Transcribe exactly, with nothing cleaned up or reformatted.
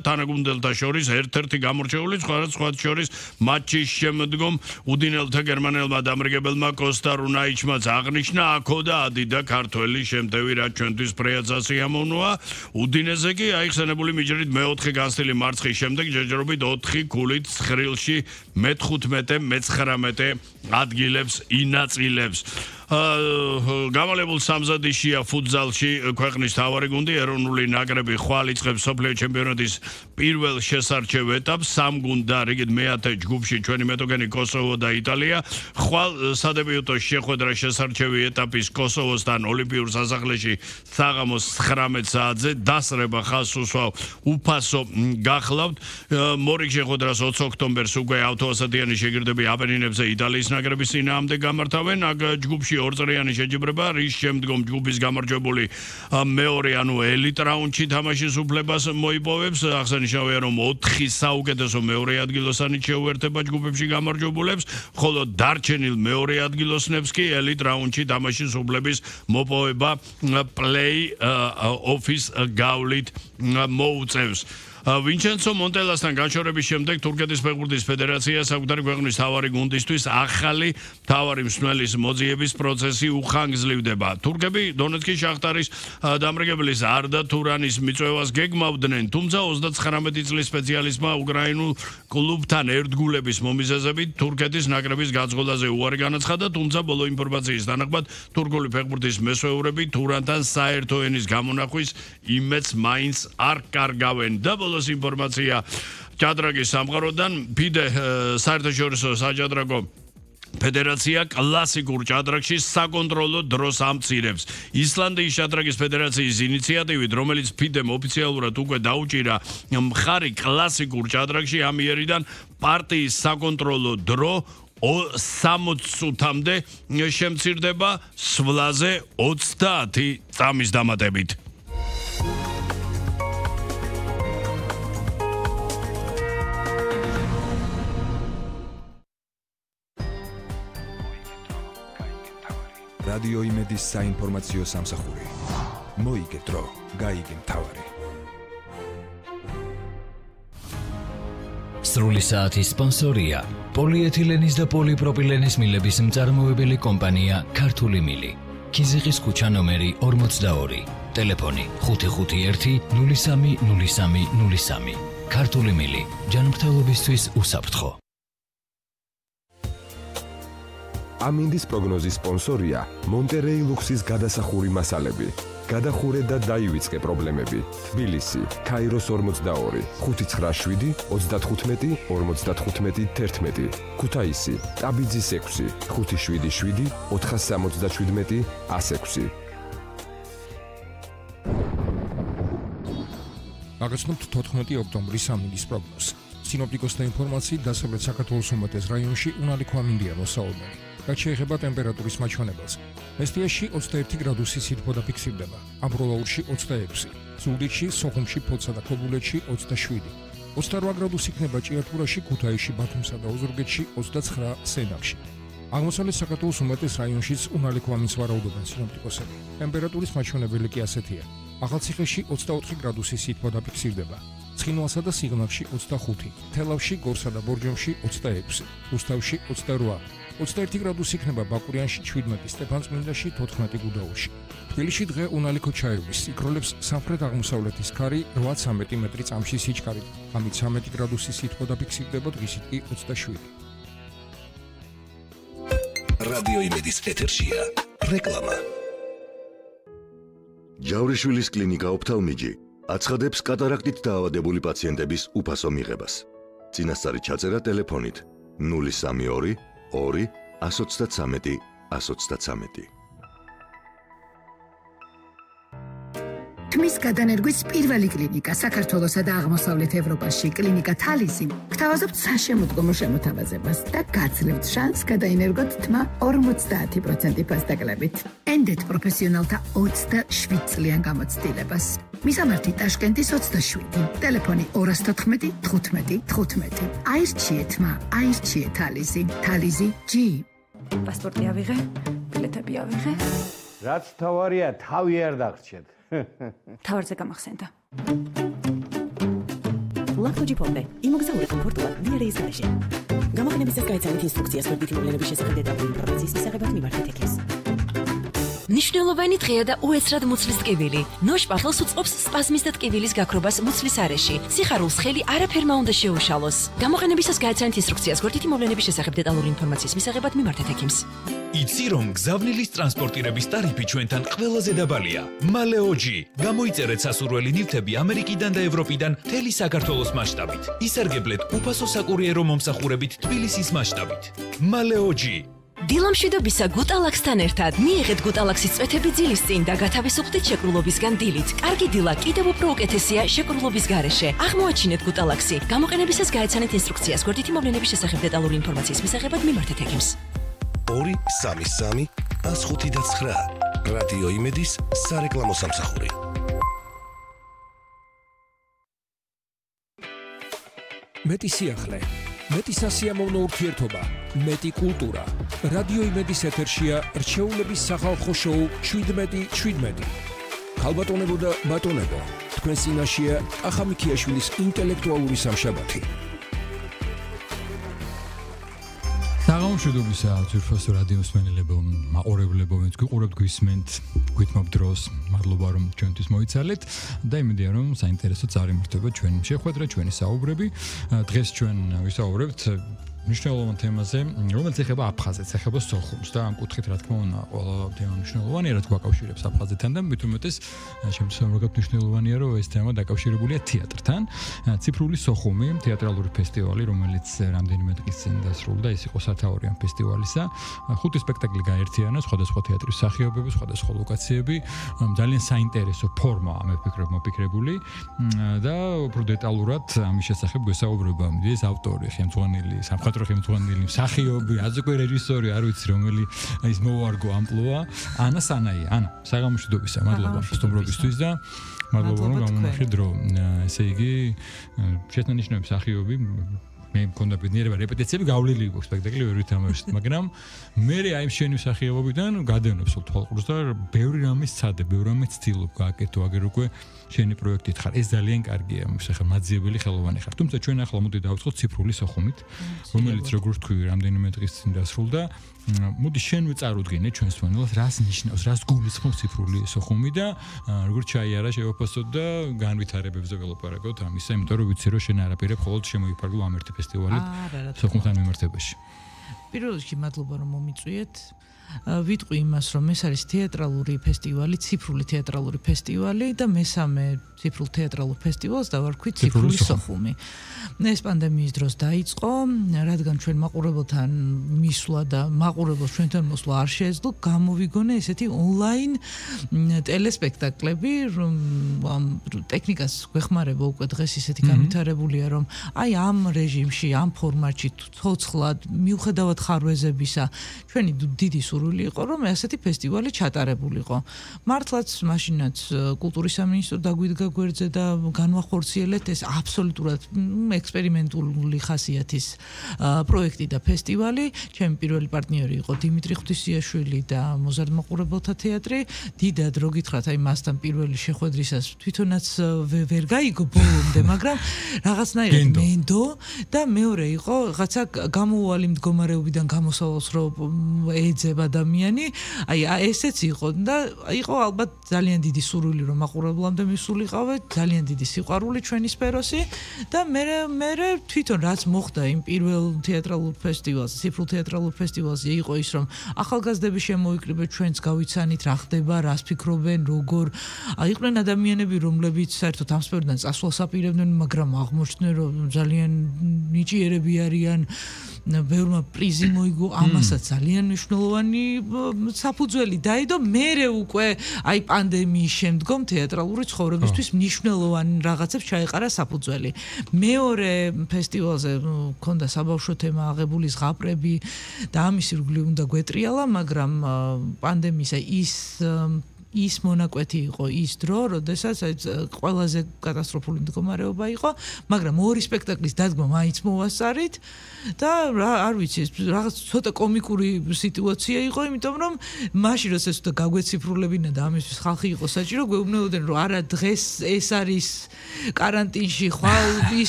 თანაგუნდელთა შორის ერთ-ერთი გამორჩეული სხვა შორის მატჩის შემდგომ უდინელთა გერმანელმა დამრიგებელმა კოსტა რუნაიჩმაც აღნიშნა აქო და ადიდა ქართველი შემტევი რაც ჩვენთვის ფრეაც ასიამოვნოა უდინეზე კი აიხსენებული მიჯრით მეოთხე განცდილი მარცხის შემდეგ ჯერჯერობით ოთხი ქულით ცხრილში მეთხუთმეტე მეცხრამეტე ადგილებს ინაწილებს გამალებულ სამზადიშია ფუტზალში ქვეყნის თავარი გუნდი ეროვნული ნაკრები ხვალ იწყებს სოფლიო ჩემპიონატის პირველ შესარჩევ ეტაპს სამ გუნდა რიგით მეათე ჯგუფში ჩვენი მეტოქენი კოსოვო და იტალია ხვალ სადებიუტო შეხვედრა შესარჩევი ეტაპის კოსოვოსთან ოლიმპიურ სასახლეში საღამოს ცხრამეტ საათზე დასრება ხაზს უსვავ უფასო გახლავთ მორიგ შეხვედრას ოცი ოქტომბერს უკვე ავტოასადიანი შეგირდები აპენინებზე იტალიის ნაკრების წინააღმდეგ გამართავენ აქ ჯგუფში ორწრიანი შეჯიბრება რის შემდგომ ჯგუფის გამარჯვებული მეორე ანუ ელიტ რაუნდში თამაშის უფლებას მოიპოვებს აღსანიშნავია რომ ოთხი საუკეთესო მეორე ადგილოსანი შეუერთება ჯგუფებში გამარჯვებულებს ხოლო დარჩენილ მეორე ადგილოსნებს კი ელიტ რაუნდში თამაშის უფლების მოპოვება პლეი-ოფის გავლით მოუწევს ვინჩენცო მონტელასთან განშორების შემდეგ თურქეთის ფეხბურთის ფედერაცია საკუთარი ქვეყნის თავარი გუნდისთვის ახალი თავარი მსმენელის მოძიების პროცესი უხანგრძლივდება. თურქები დონეცკის შახტარის დამრიგებლის არდა თურანის მიწვევას გეგმავდნენ, თუმცა ოცდაცხრამეტი წლის სპეციალისტმა უკრაინულ კლუბთან ერთგულების მომიზეზებით თურქეთის ნაკრების გაძღოლაზე უარი განაცხადა, თუმცა ბოლო ინფორმაციის თანახმად თურქული ფეხბურთის მესვეურები თურანთან საერთო ენის გამონახვის იმედს მაინც არ კარგავენ და ბოლოს ინფორმაცია ჭადრაგის სამყაროდან ფიდე საერთაშორისო საჭადრაკო ფედერაცია კლასიკურ ჭადრაკში საკონტროლო დროს ამცირებს. ისლანდიის ჭადრაკის ფედერაციის ინიციატივით, რომელიც ფიდემ ოფიციალურად უკვე დაუჭირა მხარი კლასიკურ ჭადრაკში ამ იერიდან პარტიის საკონტროლო დრო სამოცი წუთამდე შემცირდება სვლაზე ოცდაათი წამის დამატებით. რადიო იმედის საინფორმაციო სამსახური. მოიგე დრო, გაიგე მთავარი. სრული საათის სპონსორია პოლიეთილენის და პოლიპროპილენის მილების მწარმოებელი კომპანია ქართული მილი. ქიზიყის ქუჩა ნომერი ორმოცდაორი. ტელეფონი ხუთი ხუთი ერთი ნული სამი ნული სამი ნული სამი. ქართული მილი. ჯანმრთელობისთვის უსაფრთხო. ამინდის პროგნოზის სპონსორია მონტერეი ლუქსის გადასახური მასალები. გადახურე და დაივიწყე პრობლემები. თბილისი, ქაიროს ორმოცდაორი, ხუთი ცხრა შვიდი ოცდათხუთმეტი ორმოცდათხუთმეტი თერთმეტი. ქუთაისი, ტაბიძის ექვსი, ხუთი შვიდი შვიდი ოთხასამოცდაშვიდმეტი ასექვსი. აღესმოთ თოთხმეტი ოქტომბრის ამინდის პროგნოზს. სინოპტიკოსთა ინფორმაციით დასავლეთ საქართველოს უმეტეს რაიონში უნალიქო ამინდია მოსაუბნელი. რაც შეეხება ტემპერატურის მაჩვენებელს. მესტიაში ოცდაერთი გრადუსი სითბო დაფიქსირდება, ამბროლაურში ოცდაექვსი, ზუგდიდში, სოხუმში, ფოთსა და ქობულეთში ოცდაშვიდი, ოცდარვა გრადუსი იქნება ჭიათურაში, ქუთაისში, ბათუმსა და ოზურგეთში, ოცდაცხრა სენაკში. აღმოსავლეთ საქართველოს უმეტეს რაიონშიც უნალიქო ამინდს ვარაუდობენ სინოპტიკოსები. ტემპერატურის მაჩვენებელი კი ასეთია. ახალციხეში ოცდაოთხი გრადუსი სითბო დაფიქსირდება. ცხინვალსა და სიღნაღში ოცდახუთი, თელავში, გორსა და ბორჯომში ოცდაექვსი, რუსთავში ოცდარვა, ოცდაერთი გრადუსი იქნება ბაკურიანში, ჩვიდმეტი, სტეფანწმინდაში, თოთხმეტი გუდაუთში. თბილისში დღე უნალიქო ჩაივლის, იქროლებს სამხრეთ-აღმოსავლეთის ქარი რვაცამეტი მეტრი წამში სიჩქარით, ამით ცამეტი გრადუსი სითბო დაფიქსირდება, დღისით კი ოცდაშვიდი. რადიო იმედის ეთერშია რეკლამა. ჯავრიშვილის კლინიკა ოფთალმიჯი აცხადებს კატარაქტით დაავადებული პაციენტების უფასო მიღებას. წინასწარი ჩაწერა ტელეფონით ნული სამი ორი ორი ათს ოცდათვრამეტი ათს ოცდათვრამეტი. თმის გადანერგვის პირველი კლინიკა საქართველოსა და აღმოსავლეთ ევროპაში კლინიკა თალისი გთავაზობთ საშემოდგომო შემოთავაზებას და გაძლევთ შანსს გადაინერგოთ თმა ორმოცდაათი პროცენტი ფასდაკლებით. ენდეთ პროფესიონალთა ოცდაშვიდ წლიან გამოცდილებას. მისამართი ტაშკენტის ოცდაშვიდი, ტელეფონი ორას თოთხმეტი თხუთმეტი თხუთმეტი. აირჩიე თმა, აირჩიე თალისი, თალისი ჯი. პასპორტი ავიღე, ბილეთები ავიღე. რაც თავარია, თავი არ დაგრჩეთ. თავარზე გამახსენდა. ლაქტოჯი ფორმე. იმოგზაური კომფორტულად დიარეის გარეშე. გამოყენების წესს გაიცანით ინსტრუქციას გვერდითი მოვლენების შესახებ დეტალური ინფორმაციის მისაღებად მიმართეთ ექიმს. ნიშნულოვანი დღეა და უეცრად მუცლის ტკივილი. ნოშპა ხელს უწყობს სპაზმის და ტკივილის გაქრობას მუცლის არეში. სიხარულს ხელი არაფერმა უნდა შეუშალოს. გამოყენებისას გააცანით ინსტრუქციას გვერდითი მოვლენების შესახებ დეტალური ინფორმაციის მისაღებად მიმართეთ ექიმს. იცი რომ გზავნილის ტრანსპორტირების ტარიფი ჩვენთან ყველაზე დაბალია. მალეოჯი. გამოიწერეთ სასურველი ნივთები ამერიკიდან და ევროპიდან მთელი საქართველოს მასშტაბით. ისარგებლეთ უფასო საკურიერო მომსახურებით თბილისის მასშტაბით. მალეოჯი. დილამშვიდობისა გუტალაქსთან ერთად მიიღეთ გუტალაქსის წვეთები ძილის წინ და გათავისუფლდით შეკრულობისგან დილით. კარგი დილა კიდევ უფრო უკეთესია შეკრულობის გარეშე. აღმოაჩინეთ გუტალაქსი. გამოყენებისას გააცანეთ ინსტრუქციას გვერდითი მოვლენების შესახებ დეტალური ინფორმაციის მისაღებად მიმართეთ ექიმს. ორი სამი სამი ას ხუთი და ცხრა რადიო იმედის სარეკლამო სამსახური. მეტი სიახლე, მეტი სასიამოვნო ურთიერთობა, მეტი კულტურა. რადიო იმედის ეთერშია რჩეულების სახალხო შოუ შვიდმეტი შვიდმეტი. ქალბატონებო და ბატონებო, თქვენ წინაშეა კახა მიქიაშვილის ინტელექტუალური სამშაბათი. საღამოშვიდობისა ძვირფასო რადიო მსმენელებო, მაყურებლებო, ვინც გიყურებთ, გვისმენთ, გვითმობ დროს. მადლობა რომ ჩვენთვის მოიცალეთ და იმედია რომ საინტერესო წარიმართება ჩვენი შეხვედრა, ჩვენი საუბრები. დღეს ჩვენ ვისაუბრებთ მნიშვნელოვან თემაზე, რომელიც ეხება აფხაზეთს, ეხება სოხუმს და ამ კუთხით რა თქმა უნდა, ყველა თემა მნიშვნელოვანია, რაც გვაკავშირებს აფხაზეთთან და მით უმეტეს შემთხვევით როგორ მნიშვნელოვანია, რომ ეს თემა დაკავშირებულია თეატრთან. ციფრული სოხუმი, თეატრალური ფესტივალი, რომელიც რამდენიმე დღის წინ დასრულდა, ეს იყო სათაური ამ ფესტივალისა. ხუთი სპექტაკლი გაერთიანა, სხვადასხვა თეატრის მსახიობები, სხვადასხვა ლოკაციები, ძალიან საინტერესო ფორმა მე ვფიქრობ მოფიქრებული და უფრო დეტალურად ამის შესახებ გვესაუბრება ეს ავტორი, ხელმძღვანელი, სამხატვრო ხელმძღვანელი, მსახიობი, აზკვე რეჟისორი, არ ვიცი რომელი ის მოუარგო ამპლუა, ანა სანაია. ანა, საღამოშვიდობისა, მადლობა სტუმრობისთვის და მადლობა რომ გამონახეთ დრო. ესე იგი, შესანიშნავი მსახიობი მე მქონდა ბედნიერება რეპეტიციები გავლილი იყო სპექტაკლი ვერ ვითამაშეთ, მაგრამ მე აი შენი მსახიობობიდან გადავნებს თვალყურს და ბევრი რამე სცადე, ბევრი რამე ცდილობ გააკეთო, აგერ უკვე შენი პროექტით ხარ. ეს ძალიან კარგია, ხა მაძიებელი ხელოვანი ხარ. თუმცა ჩვენ ახლა მოდი დავწყოთ ციფრული სოხუმით, რომელიც როგორც თქვი, რამდენიმე დღის წინ დასრულდა. მოდი შენვე წარუდგინე ჩვენს მენელს, რას ნიშნავს, რას გულისხმობს ციფრული სოხუმი და როგორც ჩაიარა შევაფასოთ და განვითარებებზე ველაპარაკოთ ამისა, იმიტომ რომ ვიცი რომ შენ არაფერებ მხოლოდ შემოიფარგლო ამ ერთი ფესტივალით სოხუმთან მიმართებაში. პირველ რიგში მადლობა რომ მომიწვიეთ. ვიტყვი იმას, რომ ეს არის თეატრალური ფესტივალი, ციფრული თეატრალური ფესტივალი და მესამე ციფრულ თეატრალურ ფესტივალს დავარქვით ციფრული სოხუმი. ეს პანდემიის დროს დაიწყო, რადგან ჩვენ მაყურებელთან მისვლა და მაყურებელს ჩვენთან მოსვლა არ შეეძლო, გამოვიგონე ესეთი ონლაინ ტელესპექტაკლები, რომ ამ ტექნიკას გვეხმარება უკვე დღეს ისეთი განვითარებულია, რომ აი ამ რეჟიმში, ამ ფორმატში ცოცხლად, მიუხედავად ხარვეზებისა, ჩვენი დიდი სურვილი იყო, რომ ასეთი ფესტივალი ჩატარებულიყო. მართლაც მაშინაც კულტურის სამინისტრო დაგვიდგა გვერდზე და განვახორციელეთ ეს აბსოლუტურად ექსპერიმენტული ხასიათის პროექტი და ფესტივალი. ჩემი პირველი პარტნიორი იყო დიმიტრი ღვთისიაშვილი და მოზარდ მაყურებელთა თეატრი. დიდად რო გითხრათ, აი მასთან პირველი შეხვედრისას თვითონაც ვერ გაიგო ბოლომდე, მაგრამ რაღაცნაირად მენდო და მეორე იყო რაღაცა გამოუვალი მდგომარეობიდან გამოსავალს რო ეძებ ადამიანი, აი ესეც იყო და იყო ალბათ ძალიან დიდი სურვილი რომ მაყურებლამდე მისულიყავე, ძალიან დიდი სიყვარული ჩვენი სფეროსი და მე მე თვითონ რაც მოხდა იმ პირველ თეატრალურ ფესტივალზე, ციფრულ თეატრალურ ფესტივალზე იყო ის რომ ახალგაზრდები შემოიკრიბეთ, ჩვენც გავიცანით რა ხდება, რას ფიქრობენ, როგორ იყვნენ ადამიანები, რომლებიც საერთოდ ამ სფეროდან წასვლას აპირებდნენ, მაგრამ აღმოჩნდნენ რომ ძალიან ნიჭიერები არიან, ბევრმა პრიზი მოიგო, ამასაც ძალიან მნიშვნელოვანი საფუძველი დაედო. მერე უკვე აი პანდემიის შემდგომ თეატრალური ცხოვრებისთვის მნიშვნელოვანი რაღაცებს ჩაეყარა საფუძველი. მეორე ფესტივალზე მქონდა საბავშვო თემა, აღებული ზღაპრები და ამის ირგვლივ უნდა გვეტრიალა, მაგრამ პანდემიის ის ის მონაკვეთი იყო ის დრო, როდესაც ყველაზე კატასტროფული მდგომარეობა იყო, მაგრამ ორი სპექტაკლის დადგმა მაინც მოვასწარით და არ ვიცი, რაღაც ცოტა კომიკური სიტუაცია იყო, იმიტომ რომ მაშინ როდესაც უნდა გაგვეციფრულებინა და ამისთვის ხალხი იყო საჭირო, გვეუბნებოდნენ რომ არა დღეს ეს არის კარანტინში, ხვალ ის